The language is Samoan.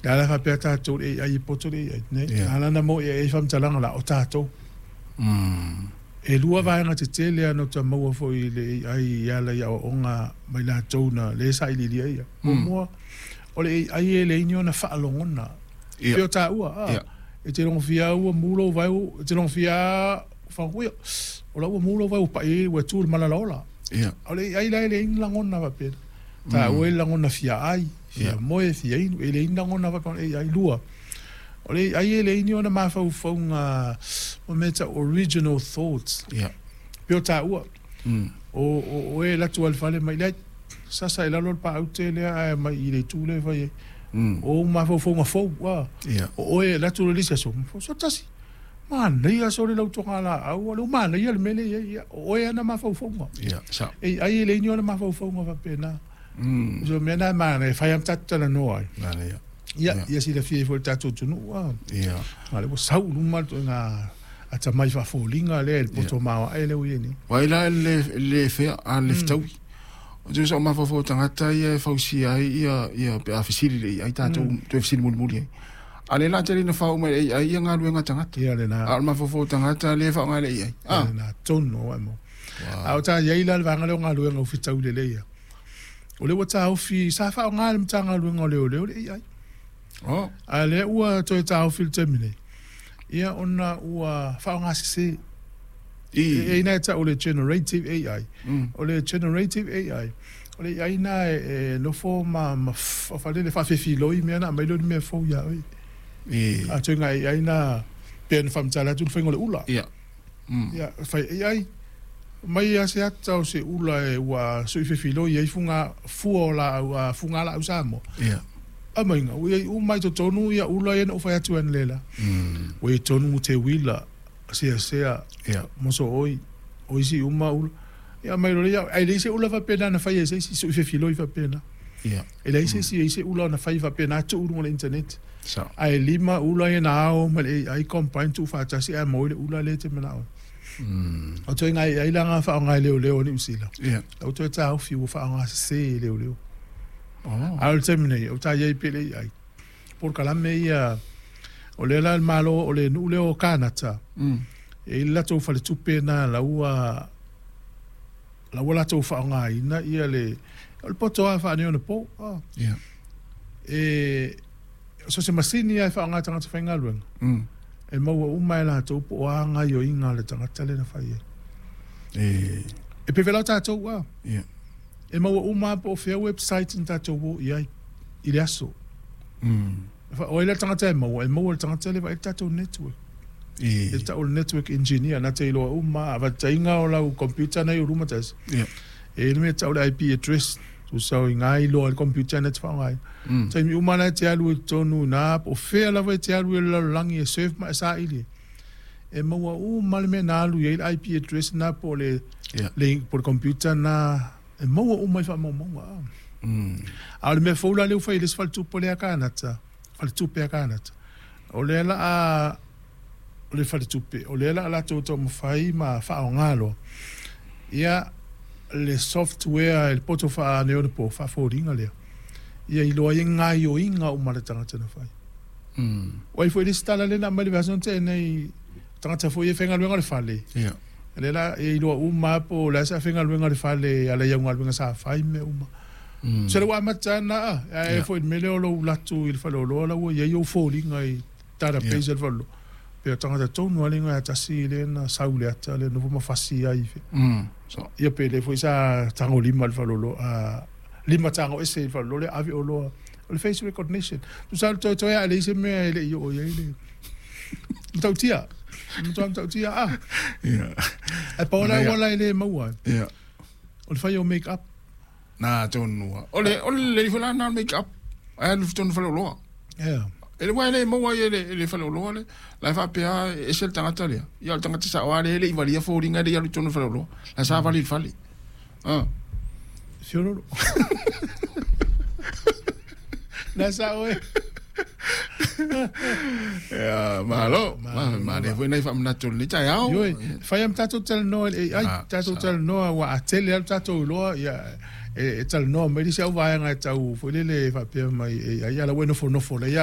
Le a la faapea tatou i le AI e poto le AI. Nei, a la na maua i AI faamatalaga la o tatou. E lua vaega tetele lava na ota maua foi i le AI e ala i aoaoga mai latou na lea e sailiilia ia. Muamua, o le AI e leai ni ona faalogona. Pei o taua, a, e te logofia lava ua mu lou vae, e te logofia lava faagogo ia, o la ua mu lou vae ua pai ai, ua tu i le malalaola. A o le AI la e leai ni lagona faapena. Taua e lagona fia ai, fia moe, fia inu, e leai ni lagona faapena o le AI. Lua, o le AI e leai ni ona mafaufauga mo mea e tau original thoughts. Pei o taua, o oe e alu atu lava i le fale ma leai, sasa i lalo le paaute lea ae aumai i le itu lea e fai ai. O ou mafaufauga fou, o oe e alu atu loa i le isi aso, so tasi. Manaia sole lau togalaau, o lea ua manaia le mea lea e i ai. Ia, o oe ana mafaufauga. Ia, sao. E ai e leai ni ona mafaufauga faapena. So o mea na e manaia, e fai lava ma tatou talanoa ai. Manaia. Ia, ia silafia ai foi e le tatou atunuu. A Ia. o lea ua sau i luma le ituaiga atamai faafoliga lea i le poto maoae lea ua i ai nei. Ua ai la le le fea a le fetaui. O te uso mafaufau o tagata ia e fausia ai ia ia pe a fesili le ai tatou toe fesili mulimuli ai. A o lea la tele ina fao uma e le AI ia galuega a tagata. Ia lena. A o le mafaufau o tagata lea e faaaoga e le AI. Ia lena tonu o mo. A o ta i ai la le vaega lea o galuega ua fetaui lelei ia. O lea ua taofi, sa faaaoga e le Matagaluega o Leoleo le AI. Oh. A lea ua toe taofi i le taimi nei, ia ona ua faaaoga sese. I. E i ai e tau o le generative AI. O le generative AI, o le AI na e nofo ma faafefiloi mea ona aumai lea o ni mea fou ia oe. I. A ituaiga AI na pei ona faamatala atu le faiga o le ula. Ia. Ia, fai AI, mai lava se ata o se ula e ua sui fefiloi ai fuga, fua o laau, fugalaau Samoa. Ia. Aumaiga, ua i ai uma i totonu ia ula ia na ou fai atu ai analeila. Ua i ai tonu teuila, seasea, mosooi, o isi uma ula. Ia aumai loa lea, ae leai se ula faapena na faia e se isi, sui fefiloi faapena. Ia. E leai se isi e i ai se ula na fai faapena tuu i luga o le internet. Sao. Ae 5 ula ia na ao ma le AI combine tuufaatasi ae maua ai le ula lea e te manao ai. O ituaiga AI la na faaaoga e leoleo a Niu Sila. Ia. La ua toe taofi ua faaaoga sese e leoleo. Oh. A o le taimi nei, o ta i ai pea le AI. Polokalame ia, o lea la le Malo, o le nuu lea o Kanata, e i ai le latou faletupe lena la ua la ua latou faaaogaina ia le, o le poto lava faaneionapo. Ia. E, so o se masini lava e faaaoga e tagata faigaluega, e maua uma e latou po o a gaoioiga a le tagata lea na fai ai. E. E pei foi la o tatou, a. Ia. E maua uma lava po o fea website na tatou o i ai i le aso. O ai la le tagata e maua? E maua e le tagata lea e vaai le tatou network. I. E tau o le network engineer, na te iloa uma lava. Faataitaiga o lau computer na i ou luma tasi, e i ai le mea e tau o le IP address, tusa o i ina e iloa ai le computer na e te faaaogaina. Taimi uma la e te alu ai i totonu i ina, po o fea lava e te alu ai i le lalolagi e surf ma e saili ai, e maua uma lava le mea na alu i ai le IP address lena po o le, po o le computer lena, e maua uma i faamaumauga. A o le mea fou la lea ua fai e le isi faletupe lea a Kanata, faletupe a Kanata, o lea la a, o le faletupe, o lea la a latou taumafai ma faaaoga loa ia le software, le poto faaneionapo, faafoliga lea, ia iloa ai gaoioiga uma a le tagata na fai. O ai foi le isi tala lea na aumai i le vaiaso na tea nei, tagata foi ia e faigaluega i le fale, Ia. lea la e iloa uma lava po o le a se faigaluega i le fale e ala i au galuega sa fai ma mea uma. Se lea ua amata lava na, ae foi i le mea lea o lou alu atu i le faleoloa la ua i ai ou foliga i database a le faleoloa. Pei o tagata tonu lava lea e tasi lea na sau i le ata lea nofo ma fasi ai. Ia pe lea foi sa tagolima i le faleoloa, lima tago ese i le faleoloa lea ave oloa. O le face recognition. Tusa o le toetoe lava e leai se mea e le i oo i ai le matautia. Matua matautia a. Ia. Ae pau le auala e le maua ai. Ia. O le fai o make up. Na tonu lava. O le o le lelei foi la lena o le make up. Ae alu i totonu o le faleoloa. Ia. E le aua e le maua ai e le, e le faleoloa le. La e faapea e ese le tagata lea. Ia o le tagata sao lava lea e le i valia foliga e le i alu i totonu o le faleoloa. La sa vali i le fale. Ah. Fiololo. Na sao e. Ia, malo. Manaia foi nai faamanatu o lenei taeao. Ioe, fai lava ma tatou talanoa i le AI, tatou talanoa aua a tele lava lo tatou iloa, ia, e talanoa mai le isi au vaega e tau foi lele faapea mai AI, a o la ua e nofonofo lelei lava.